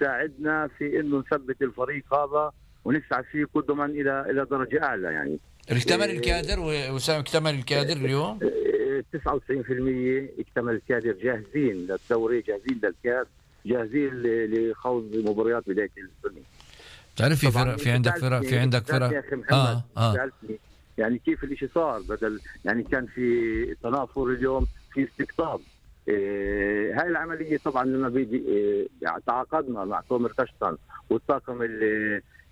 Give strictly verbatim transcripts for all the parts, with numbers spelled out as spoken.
تساعدنا في انه نثبت الفريق هذا ونسعى فيه قدما الى الى درجه اعلى. يعني اكتمل الكادر وسام اكتمل الكادر اليوم تسعة وتسعين بالمئة اكتمل الكادر، جاهزين للدوري، جاهزين للكاس، جاهزين لخوض مباريات بدايه السنه. تعرف في فرق، في عندك فرق في عندك فرق اه اه يعني كيف الاشي صار، بدل يعني كان في تنافر اليوم في استقطاب. إيه هاي العمليه طبعا لما بيجي إيه يعني تعاقدنا مع تومر كشتن والطاقم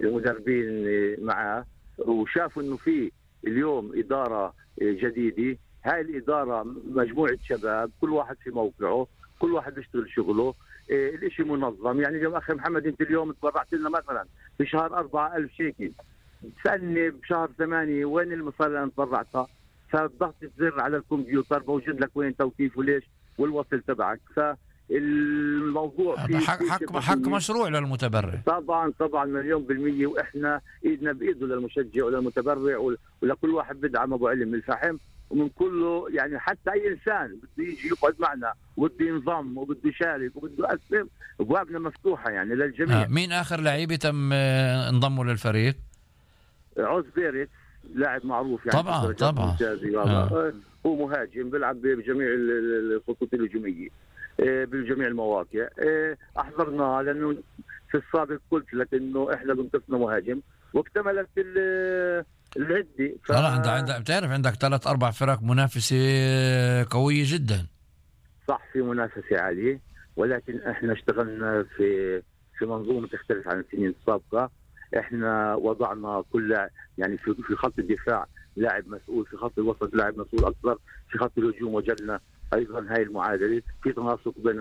المدربين معاه وشافوا انه في اليوم اداره جديده. هاي الاداره مجموعه شباب كل واحد في موقعه، كل واحد بيشتغل شغله، إيه الاشي منظم. يعني اليوم اخي محمد انت اليوم تبرعت لنا مثلا في شهر أربعة ألف شيكل، تسألني بشهر ثمانية وين المصاري اللي انا تبرعتها؟ فضغط الزر على الكمبيوتر موجود لك وين توكيف وليش والوصل تبعك. فالموضوع في حق حق, حق مشروع للمتبرع طبعا طبعا مليون بالمية، واحنا ايدنا بايده للمشجع وللمتبرع ولكل واحد بدعم ابو علم الفحم ومن كله. يعني حتى اي انسان بده يجي يقعد معنا وبده ينضم وبده يشارك وبده يقسم، ابوابنا مفتوحه يعني للجميع. آه. مين اخر لعيبه تم انضموا للفريق؟ عوز بيريت لاعب معروف يعني طبعا طبعا آه. هو مهاجم بيلعب بجميع الخطوط الهجوميه بجميع المواقع. احضرناه لانه في السابق قلت لك انه احنا بنقصنا مهاجم واكتملت العده. ف... لا عندك عندك بتعرف عندك ثلاث اربع فرق منافسه قويه جدا. صح في منافسه عاليه، ولكن احنا اشتغلنا في في منظومه تختلف عن السنين السابقه. احنا وضعنا كل يعني في في خط الدفاع لاعب مسؤول، في خط الوسط لاعب مسؤول اكثر، في خط الهجوم وجدنا ايضا هاي المعادله، في تناسق بين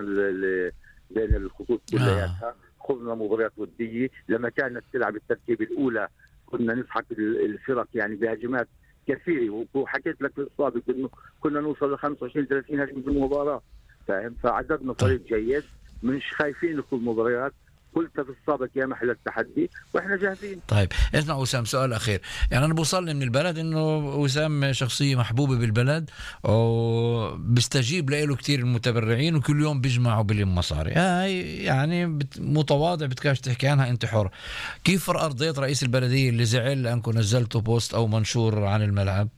بين الخطوط كلياتها. خذنا مباريات وديه لما كانت تلعب التركيبه الاولى كنا نسحق الفرق يعني بهجمات كثيره، وحكيت لك في السابق انه كنا نوصل ل خمسة وعشرين ثلاثين هجمه في المباراه، فاهم؟ فعددنا فريق جيد، مش خايفين ندخل مباريات. قلت في السابق يا محل التحدي واحنا جاهزين. طيب اسمع وسام، سؤال اخير. يعني انا بوصلني من البلد انه وسام شخصيه محبوبه بالبلد وبيستجيب له كثير المتبرعين وكل يوم بيجمعوا بلم مصاري. هاي يعني بت... متواضع بتكاش تحكي عنها، انت حر. كيف ارضيت رئيس البلديه اللي زعل لانكم نزلتوا بوست او منشور عن الملعب؟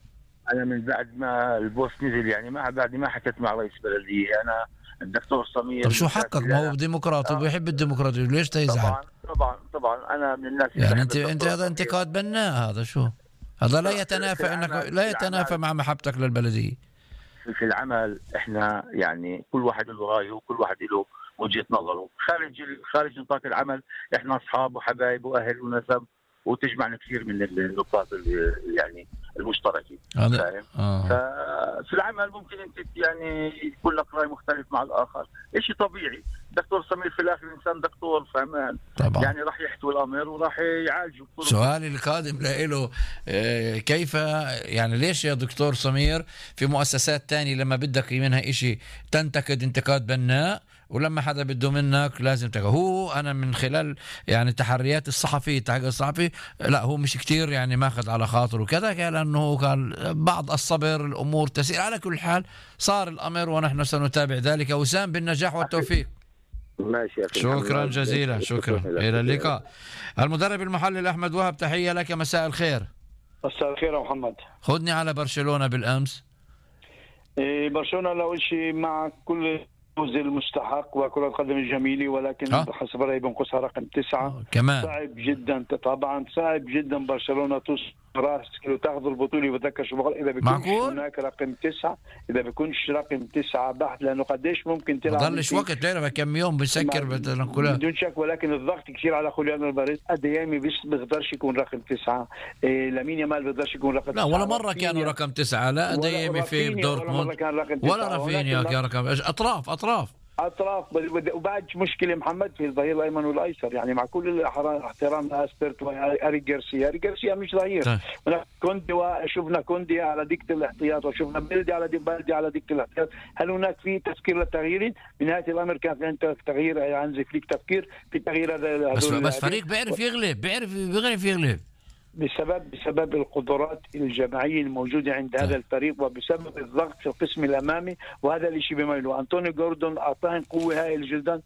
انا من بعد ما البوست نزل يعني ما بعد ما حكيت مع رئيس البلديه انا الدكتور سمير. طب شو حقك؟ ما هو ديمقراطي وبيحب الديمقراطيه، ليش تيزعل؟ طبعا طبعا طبعا انا من الناس يعني انت انت هذا انتقاد بناء، هذا شو هذا؟ لا يتنافى انك لا يتنافى مع محبتك للبلديه. في العمل احنا يعني كل واحد له رايه وكل واحد له وجهه نظره. خارج خارج نطاق العمل احنا اصحاب وحبايب واهل ونسب وتجمعنا كثير من النقاط يعني المشتركه. فاهم؟ آه. ففي العمل ممكن انت يعني يكون لك راي مختلف مع الاخر، شيء طبيعي. دكتور سمير في الاخر انسان دكتور فهمان طبعا. يعني راح يحتوي الامر وراح يعالجه. سؤالي القادم له كيف يعني ليش يا دكتور سمير في مؤسسات تانية لما بدك منها إشي تنتقد انتقاد بناء ولما حدا بده منك لازم تقول؟ هو أنا من خلال يعني تحريات الصحفي تحقيق الصحفي لا هو مش كتير يعني ماخذ على خاطره وكذا، قال أنه كان بعض الصبر الأمور تسير. على كل حال صار الأمر ونحن سنتابع ذلك. وسام بالنجاح والتوفيق. ماشي يا شكرا جزيلا، شكرا، إلى اللقاء. المدرب المحلل أحمد وهب، تحية لك، مساء الخير. مساء الخير يا محمد. خذني على برشلونة بالأمس. إيه برشلونة لو شيء مع كل الفوز المستحق وكرة القدم الجميلة، ولكن أه؟ حسب رأيي بنقصها رقم تسعة. كمان صعب جدا طبعا، صعب جدا برشلونة توصل راس تاخذ البطولة. بتذكر شو بقول إذا بيكونش هناك رقم تسعة، إذا بيكونش رقم تسعة بحت، لأنه قديش ممكن تلعب. ضلش وقت تعرف كم يوم بسكر بدون شك، ولكن الضغط كثير على خوليان الباريس. أديامي بس بيقدرش يكون رقم تسعة، إيه لامين يامال بيقدرش يكون رقم لا تسعة. ولا مرة كانوا رقم تسعة، لا أديامي في دورتموند ولا رافينيا كان رقم أطراف أطراف اطراف. وبعد مشكله محمد في الظهير الايمن والايسر، يعني مع كل الاحترام لاسترت واريك جارسيا، اريك جارسيا مش ظهير. كوندي وشفنا كوندي على دكه الاحتياط وشفنا بلدي على بلدي على دكه الاحتياط. هل هناك في تفكير للتغيير؟ بنهايه الامر كان في عندك تغيير عن فليك، تفكير في تغيير هذا. بس بس فريق بيعرف يغلب، بيعرف بيعرف يغلب بسبب بسبب القدرات الجماعيه الموجوده عند هذا الفريق، وبسبب الضغط في القسم الامامي، وهذا الشيء بيميله. انطوني جوردون اعطاهم قوه هائله جدا.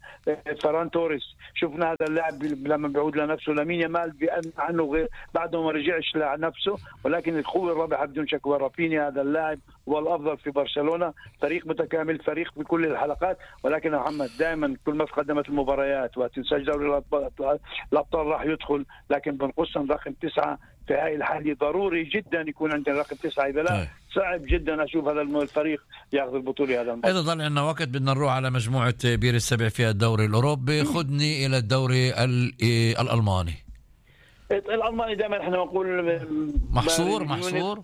فران توريس شفنا هذا اللاعب لما بيعود لنفسه. لامين يامال بأن عنه غير بعده ما رجعش لنفسه، ولكن القوه الرابعه بدون شك. ورافينيا هذا اللاعب هو الافضل في برشلونه. فريق متكامل، فريق بكل الحلقات. ولكن يا محمد دائما كل ما تقدمت المباريات وتنساج دوري الابطال الابطال راح يدخل، لكن بنقصهم رقم تسعه في هاي الحالة. ضروري جدا يكون عندنا رقم تسعة، إذا لا صعب جدا أشوف هذا الفريق يأخذ البطولة. هذا الموضوع. إذا ضل عندنا وقت بدنا نروح على مجموعة بير السبع في الدوري الأوروبي. خدني إلى الدوري الألماني. الألماني دائما احنا نقول محصور محصور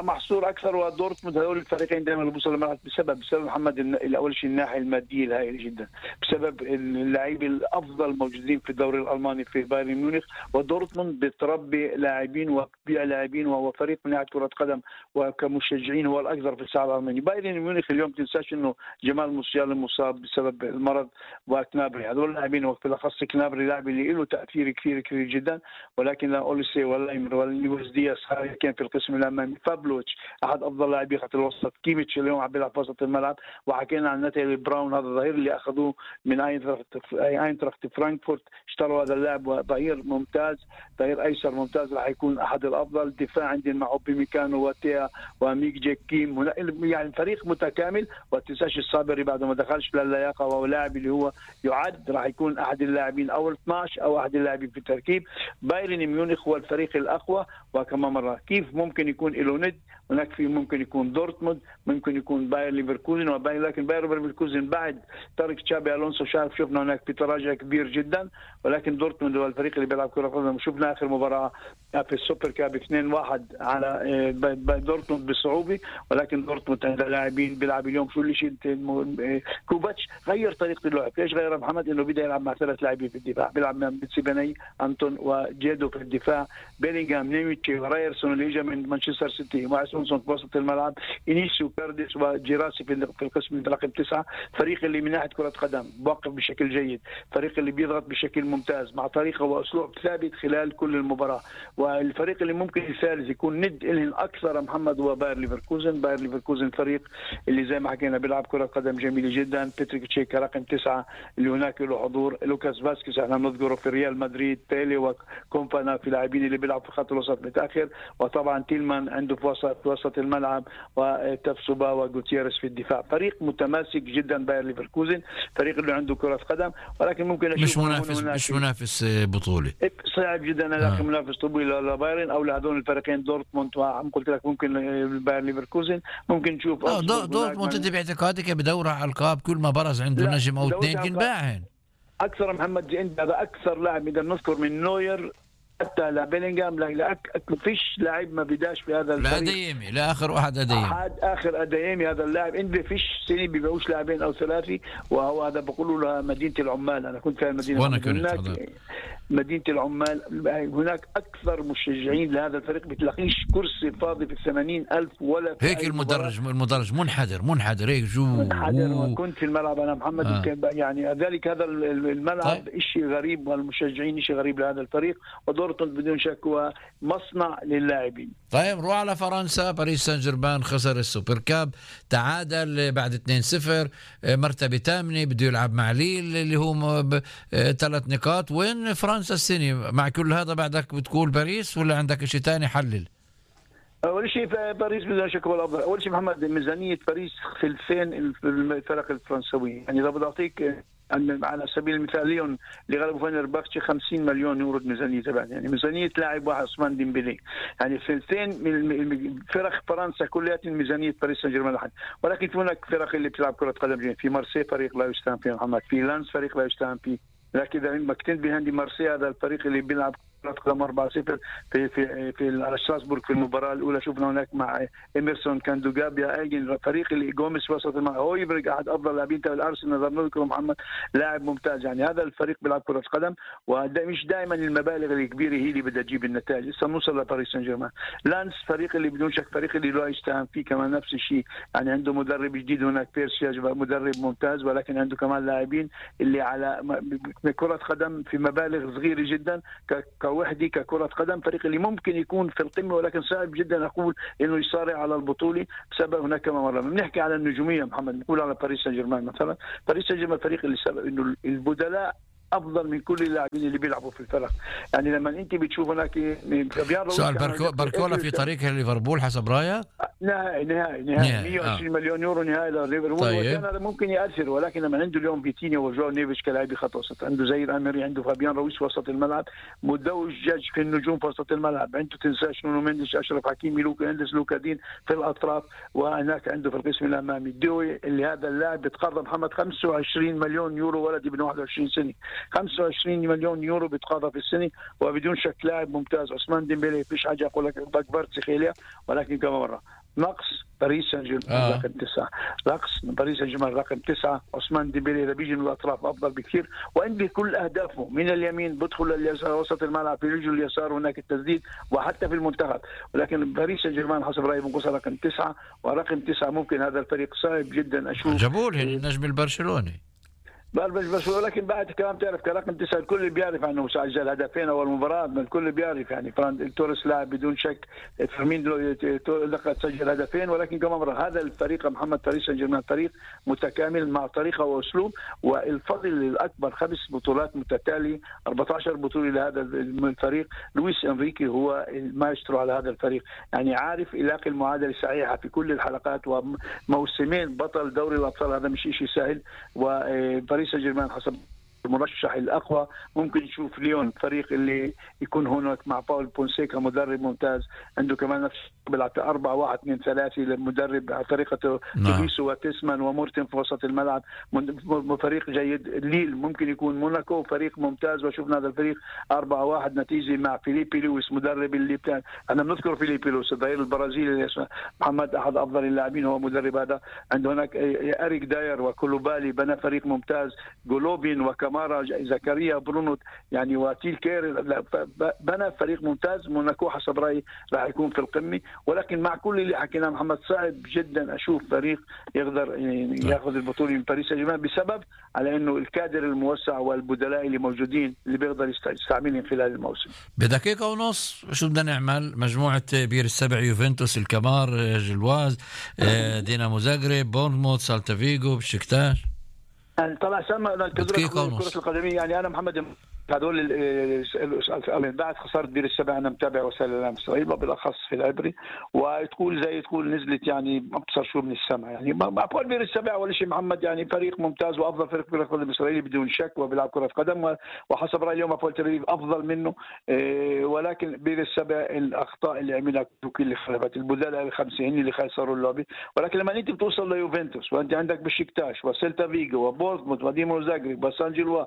محصور اكثر. ودورتموند هذول الفريقين دائما اللي بيوصلوا للملعب بسبب بسبب محمد الاول شيء الناحيه الماديه الهائله جدا، بسبب اللاعبين الافضل موجودين في الدوري الالماني في بايرن ميونخ. ودورتموند بتربي لاعبين وبيع لاعبين، وهو فريق من ناحيه كره قدم وكمشجعين هو الاكثر في الساحه الالمانيه. بايرن ميونخ اليوم تنساش انه جمال موسيالا مصاب بسبب المرض، وكنابري هذول اللاعبين وبالاخص كنابري لاعب اللي له تاثير كثير كثير جدا. ولكن لا اوليسي ولا ايمر ولا لويس دياس كان في القسم الامامي. فابلوتش احد افضل لاعبي خط الوسط. كيميتش اليوم عم بيلعب في وسط الملعب. وحكينا عن ناتالي براون هذا الظهير اللي اخذوه من اينتراخت فرانكفورت، اشتروا هذا اللاعب ظهير ممتاز، ظهير ايسر ممتاز، راح يكون احد الافضل. دفاع عندنا مع اوبيميكانو وتيا وميك جيك كيم، يعني فريق متكامل. وتنساش الصابري بعد ما دخلش للياقه، وهو لاعب اللي هو يعد راح يكون احد اللاعبين اول اثناشر او احد اللاعبين في التركيب. بايرن ميونخ هو الفريق الاقوى. وكما مره كيف ممكن يكون له ند، هناك في ممكن يكون دورتموند، ممكن يكون باير ليفركوزن وباير. لكن باير ليفركوزن بعد ترك تشابي الونسو شاف شفنا هناك في تراجع كبير جدا. ولكن دورتموند هو الفريق اللي بيلعب كره قدم. شفنا اخر مباراه في السوبر كاب اثنين واحد على دورتموند بصعوبه. ولكن دورتموند عنده لاعبين بيلعب اليوم شو اللي شيء. كوباتش غير طريقه اللعب. ليش غير محمد؟ انه بدا يلعب مع ثلاث لاعبين في الدفاع، بيلعب مع بيتسيباني انتون وجيدو في الدفاع، بيلينغهام نيميتشي ورايرسون اللي اجى من مانشستر سيتي، وعسونسون في وسط الملعب، انيسيو كارديس وجيراسي في القسم رقم تسعه. فريق اللي من ناحيه كره قدم واقف بشكل جيد، فريق اللي بيضغط بشكل ممتاز مع طريقه واسلوب ثابت خلال كل المباراه. والفريق اللي ممكن الثالث يكون ند لهم اكثر محمد هو باير ليفركوزن. باير ليفركوزن فريق اللي زي ما حكينا بيلعب كره قدم جميله جدا. باتريك تشيكا رقم تسعه اللي هناك له حضور، لوكاس فاسكيز احنا بنذكره في ريال مدريد، بيلي وكومبانا في لاعبين اللي بيلعب في خط الوسط متاخر. وطبعا تيلمان عنده في وسط في وسط الملعب، وتفسوبا وغوتيريس في الدفاع. فريق متماسك جدا باير ليفركوزن، فريق اللي عنده كرة قدم. ولكن ممكن مش منافس مش منافس بطولة، صعب جدا لكن آه. منافس طويل لبايرن او لهذول الفريقين دورتموند. وعم قلت لك ممكن باير ليفركوزن ممكن نشوف اه دورتموند. انت باعتقادك بدور على القاب كل ما برز عنده نجم او اثنين بينباعن اكثر. محمد جند هذا اكثر لاعب نقدر نذكر من نوير حتى لبيلينغهام. لا فيش لاعب ما بداش في هذا الفريق. لا أديمي لا اخر واحد أديمي احد اخر أديمي هذا اللاعب. انت فيش سنه بيبيعوش لاعبين او ثلاثي. وهو هذا بقولوا له مدينه العمال. انا كنت في المدينه وانا كنت مدينه العمال. هناك اكثر مشجعين لهذا الفريق بتلاقيش كرسي فاضي في الثمانين ألف ولا في هيك. المدرج المدرج منحدر منحدر هيك جو منحدر. وكنت في الملعب انا محمد آه. يعني ذلك هذا الملعب طيب. شيء غريب، والمشجعين شيء غريب لهذا الفريق. ودورتموند بدون شك هو مصنع للاعبين. طيب نروح على فرنسا. باريس سان جيرمان خسر السوبر كاب، تعادل بعد اثنين صفر، مرتبه ثامنه، بده يلعب مع ليل اللي هو ثلاث نقاط. وين فرنسا السنة مع كل هذا؟ بعدك بتقول باريس ولا عندك شيء ثاني؟ حلل. اول شيء باريس بدون شك هو الافضل. اول شيء محمد ميزانيه باريس ثلثين الفرق الفرنسويه. يعني اذا بدي اعطيك على سبيل المثال ليون اللي غلبوا فنربختشي خمسين مليون يورو ميزانيه تبعها. يعني ميزانيه لاعب واحد عثمان ديمبلي. يعني ثلثين من فرق فرنسا كلها ميزانيه باريس سان جيرمان لحد. ولكن في هناك فرق اللي بتلعب كره قدم. في مارسي فريق لا يستهان فيه محمد، في لانس فريق لا يستهان فيه. لكن اذا مكتنت بهندي مارسي هذا الفريق اللي بيلعب قدم أربعة صفر في في في على شراسبورغ في المباراه الاولى. شفنا هناك مع إيميرسون كاندوغابيا ايجن فريق اللي جوميز وسط الملعب. هويبرغ احد افضل لاعبين تبع الارسنال نقدر نذكره محمد، لاعب ممتاز. يعني هذا الفريق بيلعب كره قدم. ومش دائما المبالغ الكبيره هي اللي بدها تجيب النتائج. لسه نوصل لباريس سان جيرمان. لانس فريق اللي بدون شك فريق اللي لا يستهان فيه كمان نفس الشيء. يعني عنده مدرب جديد هناك بيرسياج مدرب ممتاز. ولكن عنده كمان لاعبين اللي على كره قدم في مبالغ صغيره جدا كوحدة ككرة قدم فريق اللي ممكن يكون في القمة، ولكن صعب جدا أقول إنه يصارع على البطولة بسبب هناك كما مرة بنحكي على النجومية محمد. نقول على باريس سان جيرمان مثلا، باريس سان جيرمان فريق اللي سبب إنه البدلاء افضل من كل اللاعبين اللي بيلعبوا في الفرق. يعني لما انت بتشوف هناك سؤال بركو باركولا في طريقه ليفربول حسب رايك؟ نهائي نهائي نهائي مية وعشرين آه. مليون يورو نهائي لليفربول. طيب. وكان ممكن ياثر، ولكن لما عنده اليوم فيتينيا وجواو نيفيش كلاعبي خط وسط، عنده زير امري، عنده فابيان رويس في وسط الملعب، مدوج في النجوم في وسط الملعب، عنده تنساش نونو مندش، اشرف حكيمي، لوكا هندس، لوكا دين في الاطراف، وهناك عنده في القسم الامامي دوي اللي هذا اللاعب بيتقاضى محمد خمسة وعشرين مليون يورو، ولد ابن واحد وعشرين سنه، خمسة وعشرين مليون يورو بيتقاضى في السنه، وبدون شك لاعب ممتاز. عثمان ديمبélé فيش حاجه اقول لك بكبرت سخيليا، ولكن كما مره نقص باريس سان جيرمان آه. رقم تسعة، نقص باريس سان جيرمان رقم تسعة. عثمان ديمبélé اذا بيجي من الاطراف افضل بكثير، وعنده كل اهدافه من اليمين، بدخل لليسار وسط الملعب في رجله اليسار هناك التسديد، وحتى في المنتخب. ولكن باريس سان جيرمان حسب رايي بنقصها رقم تسعة، ورقم تسعة ممكن هذا الفريق صعب جدا اشوف. جابوا له النجم البرشلوني بس بس ولكن بعد كلام تعرف كرقم تسعة الكل بيعرف عنه سجل هدفين اول مباراه، الكل بيعرف يعني فران توريس لاعب بدون شك، فيرمين لقد سجل هدفين، ولكن كما مره هذا الفريق محمد باريس سان جيرمان فريق متكامل مع طريقه واسلوب، والفضل الاكبر خمس بطولات متتاليه، أربعة عشر بطوله لهذا الفريق. لويس انريكي هو المايسترو على هذا الفريق، يعني عارف يلاقي المعادله الصحيحه في كل الحلقات، وموسمين بطل دوري الابطال هذا مش شيء سهل. و باريس سان جيرمان حسب المرشح الاقوى ممكن نشوف ليون فريق اللي يكون هناك مع باول بونسيكا مدرب ممتاز، عنده كمان نفس بيلعب أربعة واحد اثنين ثلاثة للمدرب على طريقته تبيسو وتسمان ومورتن في وسط الملعب، فريق جيد. ليل ممكن يكون موناكو فريق ممتاز، وشفنا هذا الفريق أربعة واحد نتيجه مع فيليبي لويس مدرب اللي بتاع انا بنذكر فيليبي لويس الظهير البرازيلي محمد احد افضل اللاعبين هو مدرب هذا. عنده هناك اريك داير وكولوبالي بنى فريق ممتاز، جولوبين وكامارا زكريا برونو يعني وتيل كير بنى فريق ممتاز. موناكو حسب رايي راح يكون في القمه، ولكن مع كل اللي حكيناه محمد صعب جدا اشوف فريق يقدر يعني ياخذ البطوله من باريس سان جيرمان، بسبب على انه الكادر الموسع والبدلاء اللي موجودين اللي بيقدر يستعملهم خلال الموسم. بدقيقه ونص شو بدنا نعمل؟ مجموعه بير السبع، يوفنتوس، الكمار، جلواز، دينامو زاغريب، بورنموث، سالتا فيغو، بشكتاش. طلع سما كرة القدمية. يعني أنا محمد هذول بعد خسارة بير السبع أنا متابع وسائل الإعلام الإسرائيلية بالأخص في العبري، وتقول زي تقول نزلت يعني ما بتصير شو من السماء. يعني ما بقول بير السبع ولا شيء محمد، يعني فريق ممتاز وأفضل فريق في كرة القدم الإسرائيلي بدون شك، وبيلعب كرة قدم، وحسب رأيي اليوم أبول تل أفضل منه. ولكن بير السبع الأخطاء اللي عملها كوكي اللي خربت البدلاء الخمسة هن اللي خسروا اللعبة. ولكن لما أنت بتوصل ليوفنتوس وأنت عندك بشكتاش وسيلتا فيغو وبورنموث ودينامو زاغريب وسان جيلوا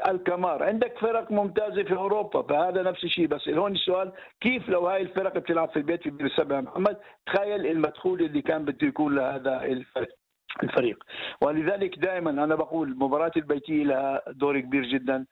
الكمار، عندك فرق ممتازة في أوروبا، فهذا نفس الشيء. بس هون السؤال كيف لو هاي الفرق بتلعب في البيت في بير السبع محمد؟ تخيل المدخول اللي كان بده يكون لهذا الفرق الفريق. ولذلك دائما أنا بقول مباراة البيتية لها دور كبير جدا،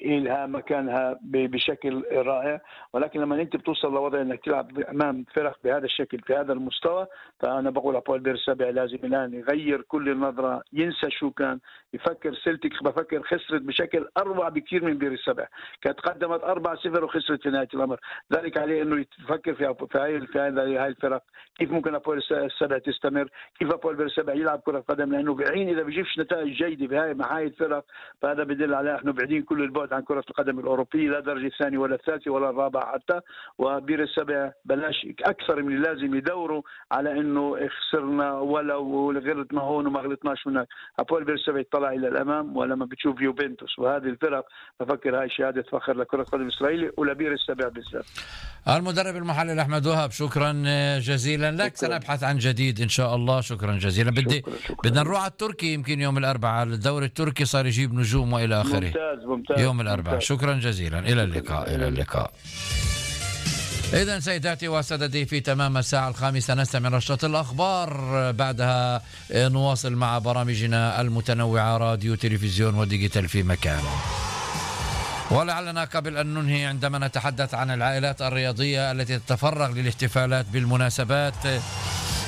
لها مكانها بشكل رائع، ولكن لما انت بتوصل لوضع انك تلعب امام فرق بهذا الشكل في هذا المستوى، فانا بقول ابول بير السبع لازم الان يغير كل النظره، ينسى شو كان يفكر. سلتك بفكر خسرت بشكل اروع بكثير من بير السبع، كانت قدمت أربعة صفر وخسرت في نهايه الامر. ذلك عليه انه يفكر في في هاي في هاي الفرق، كيف ممكن ابول السبع تستمر، كيف ابول بير السبع يلعب كره قدم، لانه بعين اذا بيجيبش نتائج جيده بهاي مع هاي الفرق فهذا بدل على احنا بعيدين كل البعد عن كرة القدم الأوروبية، لا درجة الثانية ولا الثالثة ولا الرابعة حتى. وبير السبع بلاش أكثر من اللازم يدوروا على إنه خسرنا ولو غلطنا هون وما غلطناش هناك. أبول بير السبع يطلع إلى الأمام، ولما بتشوف يوفنتوس وهذه الفرق بفكر هاي شهادة فخر لكرة القدم الإسرائيلية ولبير السبع بالذات. المدرب المحلل أحمد وهب شكرا جزيلا لك، شكرا. سنبحث عن جديد إن شاء الله. شكرا جزيلا. بدي بدنا نروح على التركي، يمكن يوم الأربعاء الدوري التركي صار يجيب نجوم وإلى آخره. ممتاز ممتاز يوم الأربعاء. شكرا جزيلا، إلى اللقاء. إلى اللقاء. إذن سيداتي وسادتي في تمام الساعة الخامسة نستمع نشرة الأخبار، بعدها نواصل مع برامجنا المتنوعة راديو تلفزيون وديجيتال في مكان. ولعلنا قبل أن ننهي عندما نتحدث عن العائلات الرياضية التي تتفرغ للاحتفالات بالمناسبات،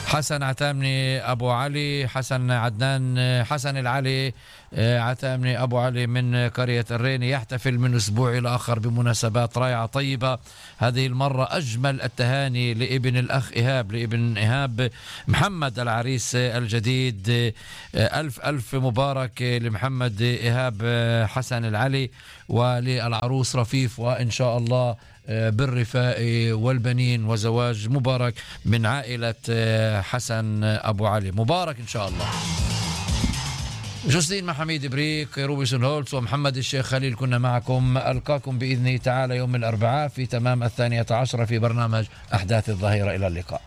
حسن عتامني أبو علي، حسن عدنان حسن العلي عتامني أبو علي من قرية الريني يحتفل من أسبوع إلى آخر بمناسبات رائعة طيبة. هذه المرة أجمل التهاني لابن الأخ إيهاب، لابن إيهاب محمد العريس الجديد. ألف ألف مبارك لمحمد إيهاب حسن العلي وللعروس رفيف، وإن شاء الله بالرفاء والبنين وزواج مبارك من عائلة حسن أبو علي. مبارك إن شاء الله. جوزدين محميد بريك، روبيسون هولتس ومحمد الشيخ خليل كنا معكم. ألقاكم بإذن تعالى يوم الأربعاء في تمام الثانية عشرة في برنامج أحداث الظهيرة. إلى اللقاء.